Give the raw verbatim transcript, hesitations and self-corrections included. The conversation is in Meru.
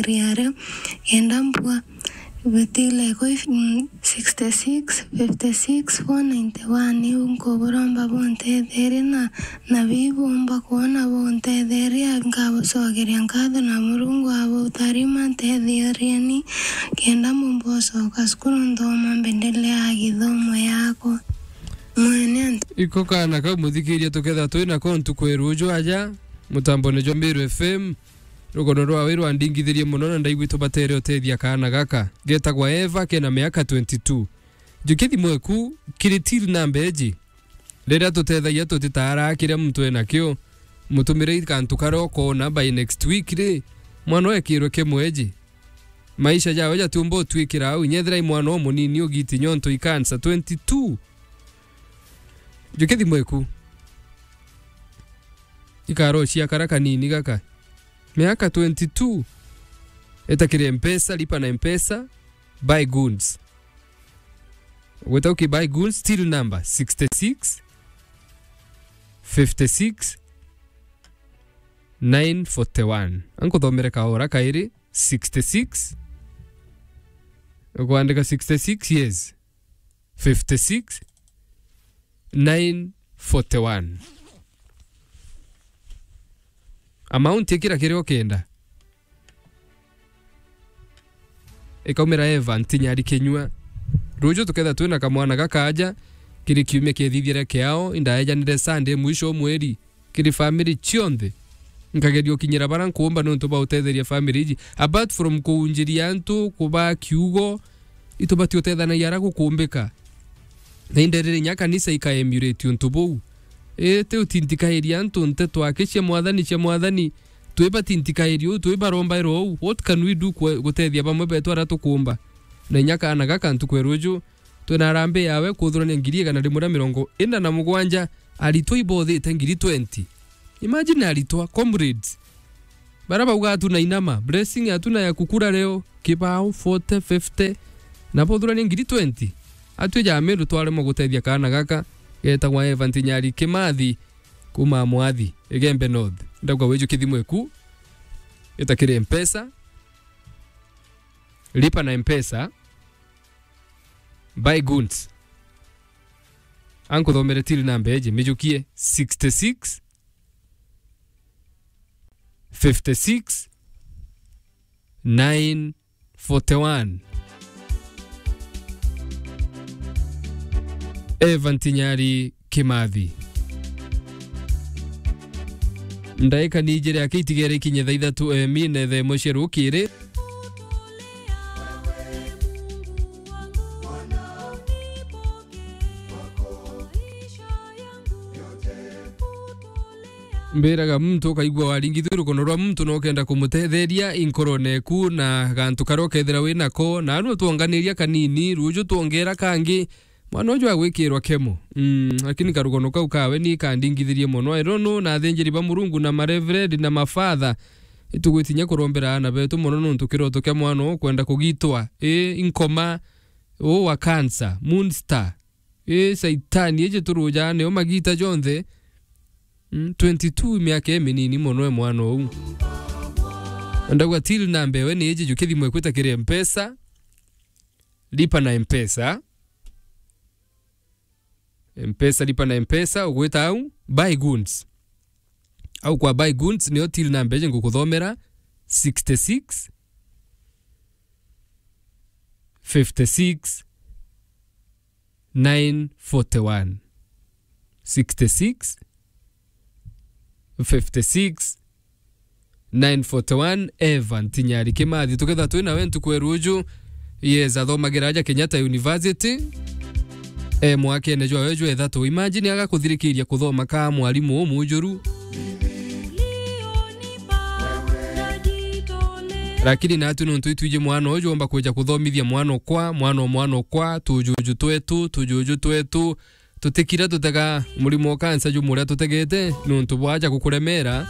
riaria, kenda mbua bitile kwi, mm, sixty six, fifty six, four ninety one. Iu nkuburomba buntetherie na, na bibumba kwona buntetheria, nkabucokeria nkatho na Murungu abutarima, ntetheerieni, kenda mbumba ucoka cukuru nthoma mbendeleaa githomo yakwa. Mwene antu. Iko kaana kau muthikiria tuketha twina ko ntuku ya ruju aja, mutambone jwa Meru F M, rugono rwawe rwandingithirie mono na ndaigua tubatere utethia kaana gaka. Getagwa Eva, kena miaka twenty two. Jukia thimu eku kiri till namba iji. Riria tutethagia tutitaara kiria muntu enakio, mutumire kantu karia ukoona by next week ri, mwana ekirwe kimwe iji. Maisha jawe jatiumba utwikira au, inya ethira i mwana umunini ugiti nyonto i cancer twenty two. Jukia thimu eku. Ikaro cia kara kanini gaka. Miaka twenty two. Eta kiri Mpesa, lipa na Mpesa, buy goods. Gwita uki buy goods, till number sixty six, fifty six, nine forty one. Ankuthomere kaora kairi, sixty six. Ukwandika sixty six, yes. Fifty six, nine forty one. Amount ikira kiria ukenda. Ikaumira Eva Ntinyari kinyua. Ruju tuketha twina kamwana gakaja, kiri kiumia kiethithire kiao, indaejanire Sunday mwisho wa mweri. Kiri family cionthe. Nkageria ukinyira bara nkuumba niuntu bwa utetheria family iji. Apart from kuunjiria antu, kubaa kiugo, itubati utethanagia ara gukuumbika. Na inderire inya kanisa ika emulate untu buu. Iti utintikairia antu nteto aki cia Mwathani, cia Mwathani. Twibati ntikairia uu, twibarombaira uu. What can we do kwe-, gutethia bamwe betu aria tukuumba? Na inya kaana gaka ntuku ya ruju, twina harambee yawe kuthurania ngiri igana rimwe na mirongo ina na mugwanja, aritwa ibothite ngiri twenty. Imagine aritwa, comrades. Bara bauga hatuna inama, blessing hatuna ya kukula leo, kibao forty, fifty, na bothurania ngiri twenty. Atwi ja Meru twaremwa gutethia kaana gaka, getagwa Eva Ntinyari Kimathi, kuma Mwathi, Igembe North. Ndauga wiju kithimu eku, ita kiri Mpesa, lipa na Mpesa, buy goods. Ankuthomere till namba iji, mijukie sixty six, fifty six, nine forty one. Eva Ntinyari Kimathi. Ndaika ni ijiri aki itigere ikinye thaa ithatu, eh, mine thaa imwe cia rukiri. Mbiraga muntu ukaigua waringithua rukono rwa muntu na ukenda kumutetheria inkorone eku na gantu karia ukethira wi nako, na aru twonganiria kanini, ruju twongera kangi, mwana uju agwikirwa kemo. Mm, lakini karukono kau kawe ni kandingithirie mono. I don't know, na athinjiri ba Murungu na mareverend na mafather, itugwitinya kurombera aana betu mono nontu kiroto kia mwana uu kwenda kugitwa. I, inkoma, uu wa cancer, moon star. I, Saitani, iji turujaa nio magita jonthe. Mm, twenty two, miaka iminini mono e mwana uu. Ndauga till namba ewe ni iji, jukia thimu eku ita kiri Mpesa, lipa na Mpesa. Mpesa, lipa na Mpesa, ugwita au, buy goods. Au kwa buy goods, nio till namba iji ngukuthomera, sixty six, fifty six, nine forty one. Sixty six, fifty six, nine forty one, Evan Tinyari Kimathi. Tuketha twi nawe ntuku ya ruju, yes, athomagira aja Kenyatta University. E mwakene jwawe jwa ithatu. Imagine agakuthirikiria kuthoma ka mwarimu umujuru. Lakini natu nontu itwiji mwana uju omba kwija kuthomithia mwana okwa, mwana o mwana okwa, tujuju twetu, tujuju twetu, tutikira tutega murimo o kansa jumu uria tutegete nontu bwaja gukuremera.